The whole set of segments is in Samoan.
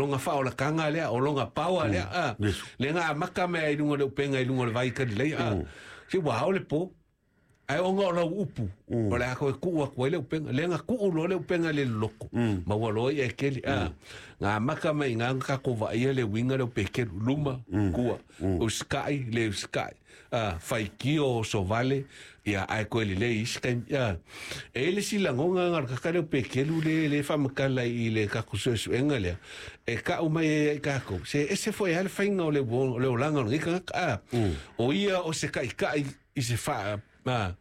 O lona faaolataga lea, o lona power lea, a. Lea na amata mea i luga o le upega i luga o le vai i Kalileia, a. Se ua ao le po, ae ona o lau upu, o le a toe tuu atu ai le upega. Lea na tuu loa le upega i le loloto, ma ua loa i'a e tele, a. Na amata mai i ina na tatou vaaia le uiga lea o Peteru, luma, tua, usitai, le usitai, a, faitio osovale, ia, ae toe lelei i isi taimi, a. E i ai le isi lagona na o le tagata lea o Peteru lea e faamatala i le tatou suesuega lea, e tau mai ai ia i tatou, se ese foi lava le faiga o le olaga o lenei tagata, a. O ia o se taitai i se faa, a,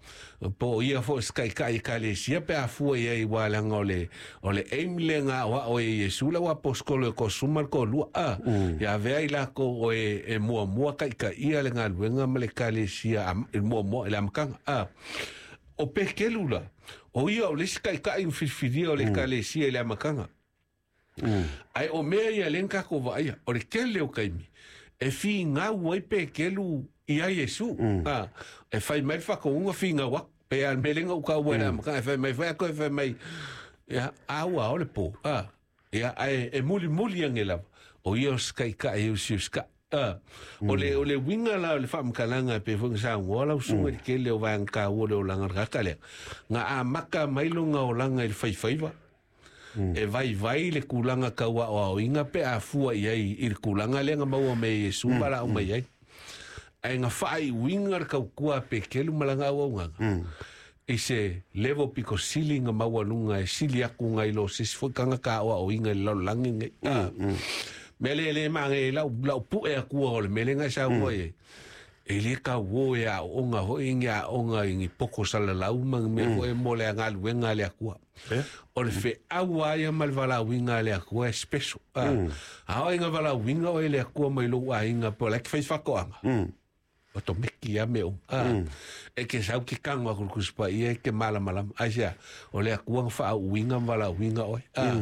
po o ia foi o se taitai ekalesia pe a fua i ai, aua leaga o le o le aim lea na aoao ai e Iesu le auaposeitolo e toasefulu ma le toalua, a, ia avea ai latou o e muamua taitaia le galuega ma le ekalesia i le muamua i le amataga, a. O Peteru la, o ia o le isi taitai na filifilia o le ekalesia i le amataga. Ae o mea ia lea na tatou vaaia, o le tele o taimi e finau ai Peteru ia Iesu. A, e fai mai le faatonuga finau atu. Pe a le mea lea na ou taua i le amataga, e fai mai foi atu e fai mai, ia, a ua ao le po. A, ia, ae e mulimuli ane lava, o ia o se taitai e usiusitai. A, o le, o le uiga la o le faamatalaga e pei foi ona saunoa lau susuga i le tele o vaega taua o le olaga o le tagata lea, na amata mai lona olaga i le faifaiva, E vaivai le tulaga tau aoaoina pe a fua i ai i le tulaga lea na maua mai e Iesu ma laau mai ai. Ae na faaiuina le tautua a Peteru ma lana auaunaga i se level pito sili na maualuga e sili atu nai lo se isi foi tagata aoaoina i le lalolagi lenei. Mea lea e le manaia i lau, lau pue atua o le mea lea na e saunoa i ai. E le tauō e aooga foi ni aoga i ni poto salalau ma ni mea foi mo le galuega a le Atua. O le feau lava ia ma le valaauina a le Atua e special. A, a oo ina valaauina oe e le Atua mai lou aiga po o la e te fai faatoaga, otomeki lava mea uma. A, e te sau te tago atu i le Tusi Paia e te malamalama. Aisea? O le Atua na faauuina ma valaauina oe. A,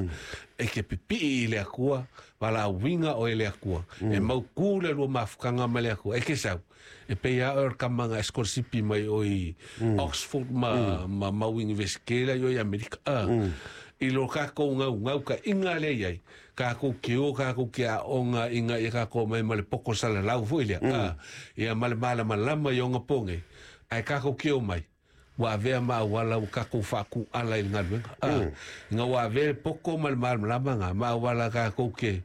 e te pipii i le Atua, valaauina oe e le Atua. E mautu le lua mafutaga ma le Atua. E te sau, e pei lava oe o le tama na esikolasipi mai oe i Oxford ma, ma mau Universite la i o i Amerika. A, i lo tatou naunautaiga lea i ai, tatou te o tatou te aoga ina ia tatou omai ma le poto salalau foi lea, a, ia ma le malamalama i ona po nei, ae tatou te omai, ua avea ma auala ua tatou faatūala i le galuega. A, ina ua avea le poto ma le malamalama na ma auala tatou te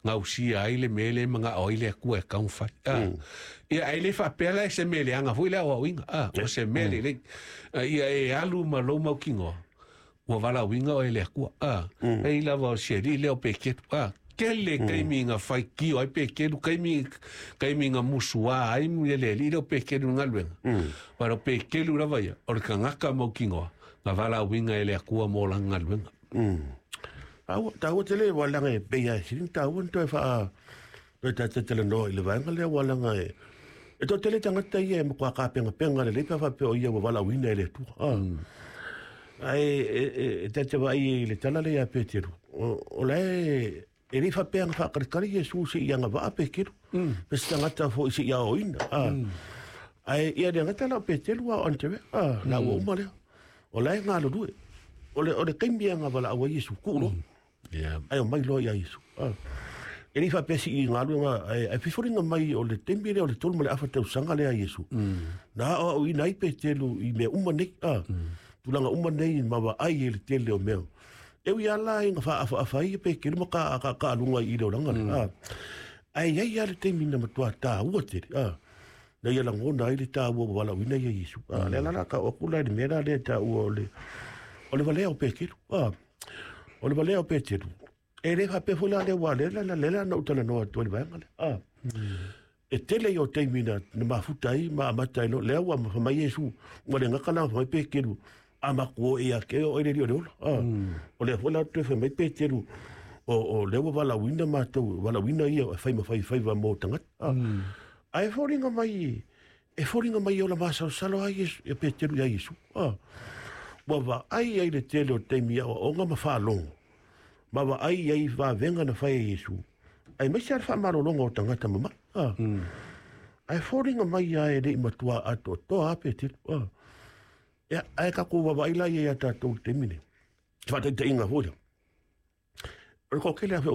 gausia ai le mea lea e manao ai le Atua e tatau ona fai. A, ia, ae le faapea la e se mea leaga foi le aoaoina. A, o se mea lelei. A, ia e alu ma lou mautinoa, ua valaauina oe e le Atua. A, pei lava o si alii lea o Peteru. A, tele taimi na faitio ai Peteru, taimi, taimi na musuā ai le alii lea o Peteru i le galuega. Uaea o Peteru lava ia, o le tagata mautinoa na valaauina e le Atua mo lana galuega. Taua, taua tele aua leaga e pei lava e sili ona taua ona toe faa toe tatou talanoa i le vaega lea aua leaga e e toatele tagata ia e matua tapenapena lelei pe a faapea o ia ua valaauina e le Atua. Ah. Ae e, e, e ta te vaai i le tala lea ia Peteru, o, o la e e le i faapea na faataritari Iesu se i agavaa Peteru, pe se tagata foi se i aoaoina. Ah. Ae ia le gata la o Peteru a o Aneterea, ah, la ua uma lea. O la e galulue. O le, o le taimi e agavalaau ai Iesu, tuu loa. Ae omai loa ia Iesu. Ah. E le i faapea sii galuega, ae, ae fefoliga mai o le taimi lea o le 3 ma le afa tausaga lea a Iesu. Na aoaoina ai Peteru i mea uma nei. Ah. Tulaga uma nei ma vaai i le tele o mea. E ui lava la ina faaafaafa ai Peteru ma ka, ka, kaaluga i le olaga lea. Ah. Ae i ai lava le taimi na matua taua tele. Ah. Na ia lagona ai le taua ua valaauina ia Iesu. A, lea la la tau atu la i le mea la lea e taua o le, o le valea o Peteru. A, o le valea o Peteru. E le faapea foi la lea aua lea la, lea la na ou talanoa atu ai i le vaega lea. A, e tele ia o taimi na, na mafuta ai ma amata ai loa, lea ua fai mai Iesu, ua le gata la fai mai Peteru, a matou o ia te oe le Alii o le ola. A, o lea foi la toe fai mai Peteru, o, o lea ua valaauina matou, valaauina ia e fai ma faifaiva mo tagata. A, ae foliga mai, e foliga mai e ola masalosalo lava Iesu, ia Peteru ia Iesu. A, ua vaai ai le tele o taimi i aoaoga ma faalogo, ma vaai ai i vavega na fai e Iesu, aemaise lava le faamalologa o tagata mamai. A, ae foliga mai lava e le i matua atoatoa lava Peteru. A, ia, ae tatou vaavaai la ia ia tatou i le taimi lenei, se faataitaiga foi lea. O le toatele lava foi o